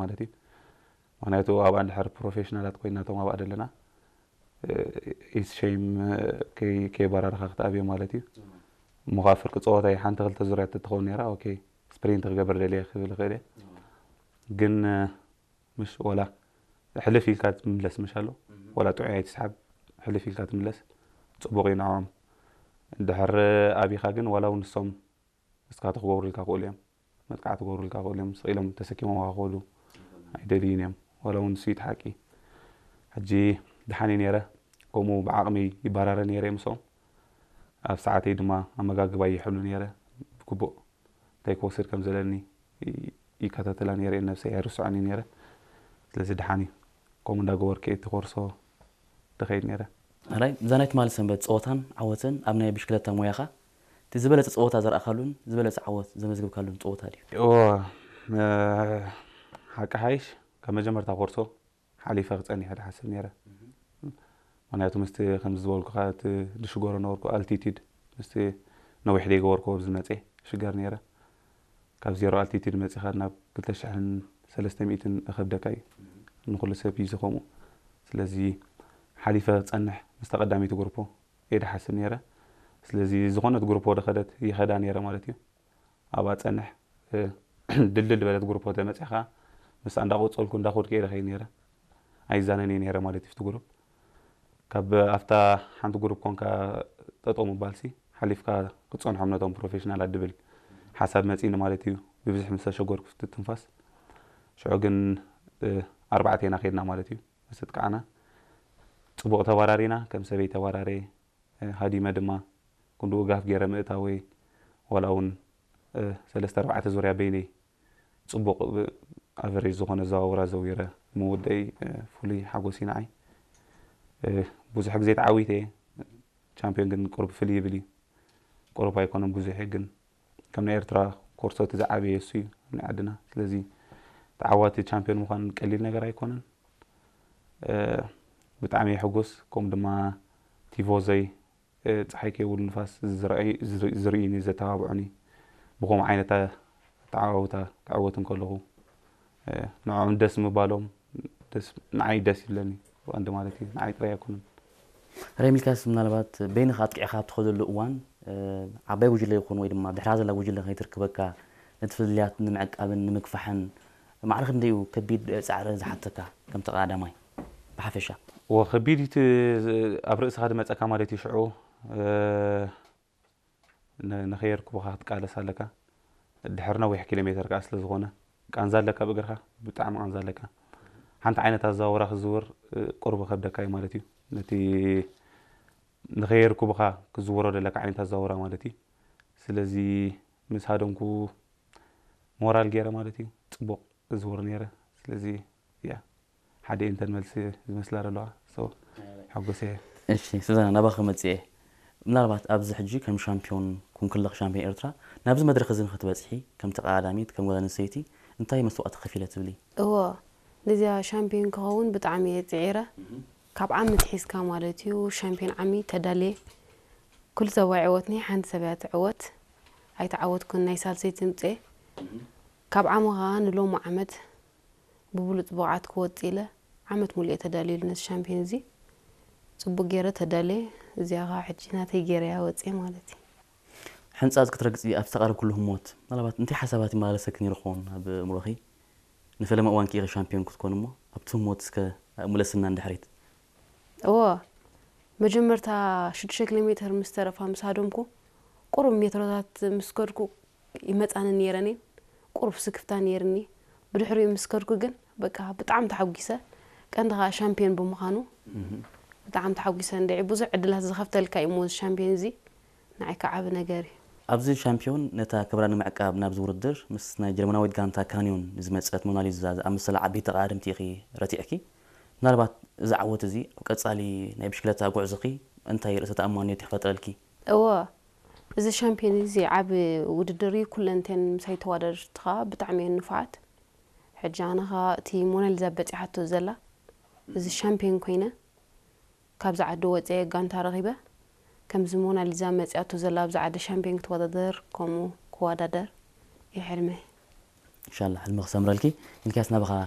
ማለት እዩ። ምክንያቱ ኣብኣ እንድሕር ፕሮፌሽናላት ኮይና እቶም ኣብኣ ዘለና ኢስ ሸይም ከይበራርኻ ክትኣብዮ ማለት እዩ። እሞ ካብ ፍርቂ ፀወታ ሓንቲ ክልተ ዙርያ ትኸውን ነራ። ኦኬ፣ ስፕሪንት ክገብር ደልየ ክብል ይኽእል እየ። ግን ምሽ ወላ ሕልፍ ኢልካ ትምለስ ምሽ ኣሎ፣ ወላ ጥዑይ ኣይትስሓብ፣ ሕልፍ ኢልካ ትምለስ፣ ፅቡቕ እዩ ንዕኦም። እንድሕር ኣቢኻ ግን ዋላ እውን ንሶም እስካ ትክገብሩልካ ክእሉ እዮም፣ መጥቃዕቲ ክገብሩልካ ክእሉ እዮም፣ ስቕ ኢሎም ተሰኪሞም ክኸዱ ኣይደልዩን እዮም። ዋላ እውን ንሱ እዩ እቲ ሓቂ። ሕጂ ድሓን እዩ ነይረ፣ ከምኡ ብዓቕመይ ይባራረ ነይረ ምስኦም። ኣብ ሰዓተይ ድማ ኣመጋግባ ይሕሉ ነይረ፣ ብግቡእ እንታይ ክወስድ ከም ዘለኒ ይከታተላ ነይረ፣ ነብሰይ ኣይርስዖን እዩ ነይረ። ስለዚ ድሓን እዩ ከምኡ እንዳገበርኩ እቲ ኮርሶ ድኸይድ ነይረ። ኣራይ እዛ ናይ ትማሊ ሰንበት ፀወታን ዓወትን ኣብ ናይ ብሽክለታ ሞያኻ እቲ ዝበለፀ ፀወታ ዘርኣኻሉን ዝበለፀ ዓወት ዘመዝግብካሉን ፀወታ ድዩ? እዎ፣ ሓቂ ሓይሽ ካብ መጀመርታ ኮርሶ ሓሊፈ ክፀኒሐ ድሓስብ ነይረ። ምክንያቱ ምስቲ ከምዚ ዝበልኩኻ እቲ ድሽገሮ ነበርኩ ኣልቲቲድ ምስቲ ነዊሕ ደይገበርኩ ኣብዚ መፀ ሽገር ነይረ። ካብ ዜሮ ኣልቲቲድ መፂኻ ናብ ክልተ ሽሕን ሰለስተ ሚእትን እኸብደካ እዩ፣ ንኩሉ ሰብ እዩ ዝኸምኡ። ስለዚ ሓሊፈ ክፀንሕ ምስታ ቀዳመይቲ ግሩፖ እየ ድሓስብ ነይረ። ስለዚ ዝኾነት ግሩፖ ድኸደት ይኸዳ ነይረ ማለት እዩ። ኣብኣ ጸንሕ ድልድል ዝበለት ግሩፖ ተመጺኻ ምስኣ እንዳቆጸልኩ እንዳኸድኩ እየ ደኸይ ነይረ። ኣይዛነን እየ ነይረ ማለት እዩ እቲ ግሩፕ። ካብ ኣብታ ሓንቲ ግሩፕ ኮንካ ጠጠው ምባልሲ ሓሊፍካ ክትጸንሖም ነቶም ፕሮፌሽናላት ድብል ሓሳብ መጺኒ ማለት እዩ። ብብዝሒ ምስ ተሸገርኩ ትንፋስ ሽዑ ግን ኣርባዕተ ኢና ከድና ማለት እዩ። ምስ ኣጥቃዕና ጽቡቕ ተባራሪና ከም ሰበይ ተባራረየ። ሃዲመ ድማ ክንድኡ ጋፍ ገይረ ምእታወይ ዋላ እውን ሰለስተ ኣርባዕተ ዙርያ በይነይ ጽቡቕ ኣቨሬጅ ዝኾነ ኣዘዋውራ ዘዊረ ምውደይ ፍሉይ ሓጎስ እዩ ንዓይ። ብዙሕ ግዜ ተዓዊተ እየ። ቻምፒዮን ግን ቁሩብ ፍልይ ይብል እዩ። ቁሩብ ኣይኮነን ብዙሕ እዩ ግን ከም ናይ ኤርትራ ኮርሶ እቲ ዝዓበየ እሱ እዩ ኣብ ናይ ዓድና። ስለዚ ተዓዋቲ ቻምፒዮን ምዃን ቀሊል ነገር ኣይኮነን። ብጣዕሚ እየ ሕጉስ። ከምኡ ድማ ቲፎዞይ ፀሓይ ከይብሉ ንፋስ ዝርእዩኒ ዘተባብዑኒ ብከምኡ ዓይነት ኣተዓዋውታ ክዕወት እንከለኹ ንዕኦም ደስ ምባሎም ንዓይ ደስ ይብለኒ። ብቐንዲ ማለት እዩ ንዓይ ጥራይ ኣይኮነን። ሬሚልካስ ምናልባት በይንኻ ኣጥቂዕኻ ኣብ ትኸደሉ እዋን ዓባይ ጉጅለ ይኹን ወይ ድማ ድሕራ ዘላ ጉጅለ ከይትርክበካ ነቲ ፍልልያት ንምዕቃብን ንምግፋሕን ማዕረ ክንደይ እዩ ከቢድ ፃዕሪ ዝሓተካ ከም ተቐዳዳማይ ብሓፈሻ? እወ ከቢድ እዩ እቲ ኣብ ርእስኻ ዝመፀካ ማለት እዩ ሽዑ ንኸየርክቡኻ ክትቃለስ ኣለካ። ድሕሪ ነዊሕ ኪሎ ሜተር ከዓ ስለዝኾነ ቃንዛ ኣለካ ብእግርኻ ብጣዕሚ ቃንዛ ኣለካ። ሓንቲ ዓይነት ኣዘዋውራ ክዝውር ቁሩብ ከብደካ እዩ ማለት እዩ። ነቲ ንኸየርክቡኻ ክዝውሮ ዘለካ ዓይነት ኣዘዋውራ ማለት እዩ። ስለዚ ምስ ሃደምኩ ሞራል ገይረ ማለት እዩ ፅቡቕ እዝውር ነይረ። ስለዚ ያ ሓደ እንተን መልሲ ዝመስላ ዘለዋ ሓጎሰ እየ። እሺ ሱዛና ናባኺ ክመፅእ እየ። ምናልባት ኣብዚ ሕጂ ከም ሻምፒዮን ኩንክለኽ ሻምፒዮን ኤርትራ ናብዚ መድረኽ እዚ ንክትበፅሒ ከም ተቐዳዳሚት ከም ጓል ኣንስተይቲ እንታይ መስዋእቲ ከፊለ ትብሊ? እዎ ነዚኣ ሻምፒዮን ክኸውን ብጣዕሚ እየ ፅዒረ። ካብ ዓሚ ትሒዝካ ማለት እዩ ሻምፒዮን ዓሚ ተዳልየ። ኩሉ ሰብ ኣይዕወትኒ ሓንቲ ሰብ እያ ትዕወት። ኣይተዓወትኩን ናይ ሳልሰይቲ ምፅኤ። ካብ ዓሚ ከዓ ንሎሚ ዓመት ብብሉፅ ብቕዓት ክወፅእ ኢለ ዓመት ሙሉእ እየ ተዳልየሉ ነዚ ሻምፒዮን እዚ። ፅቡቅ ገይረ ተዳልየ እዚኣ ከዓ ሕጂ ናተይ ገይረያ ወፅየ ማለት እዩ። ሕንፃፅ ክትረግፂ ኣብ ዝተቓረብክሉ ህሞት ምናልባት እንታይ ሓሳባት ይመላለሰኪ ነይሩ ክኸውን ኣብ ኣእምሮኺ? ንፈለማ እዋን ከ ኢኺ ሻምፒዮን ክትኮኒ እሞ ኣብቲ ህሞት እስከ ኣእምለስና ንድሕሪት። እወ መጀመርታ ሽዱሽተ ኪሎ ሜተር ምስ ተረፋ ምስ ሃደምኩ ቁሩብ ሜትሮታት ምስ ከድኩ ይመፃኒ ነይረን እየን ቁሩብ ስክፍታ ነይርኒ ብድሕሪኡ ምስ ከድኩ ግን በቃ ብጣዕሚ ተሓጒሰ ቀንዲ ከዓ ሻምፒዮን ብምዃኑ ብጣዕሚ ተሓጒሰ እንድዒ ብዙሕ ዕድላት ዝኸፍተልካ እዩ እሞ እዚ ሻምፒዮን እዚ ንዓይ ከዓ ዓቢ ነገር እዩ። ኣብዚ ሻምፒዮን ነታ ክብራ ንምዕቃብ ናብዚ ውድድር ምስ ናይ ጀርመናዊት ጋንታ ካንዮን ዝመጸት ሞናሊዛ ዝኣመሰላ ዓበይቲ ተቐዳደምቲ ኢኺ ረቲዕኪ። ምናልባት እዚ ዓወት እዚ ኣብ ቀጻሊ ናይ ብሽክለታ ጉዕዞኺ እንታይ ርእሰ ተኣማንነት ይፈጥረልኪ? እወ፣ እዚ ሻምፒዮን እዚ ዓቢ ውድድር እዩ። ኩለን እተን ምሳይ ተወዳደርቲ ከኣ ብጣዕሚ እየን ንፉዓት። ሕጂ ኣነ ከኣ እቲ ሞናሊዛ በጺሓቶ ዘላ እዚ ሻምፒዮን ኮይነ ካብዚ ዓዲ ወፅየ ጋንታ ረኺበ ከምዚ ሞናሊዛ መፂኣቶ ዘላ ኣብዚ ዓዲ ሻምፒዮን ክትወዳደር ከምኡ ክወዳደር እዩ ሕልመይ። እንሻላ ሕልሚ ክሰምረልኪ። ሚልክያስ ናባኻ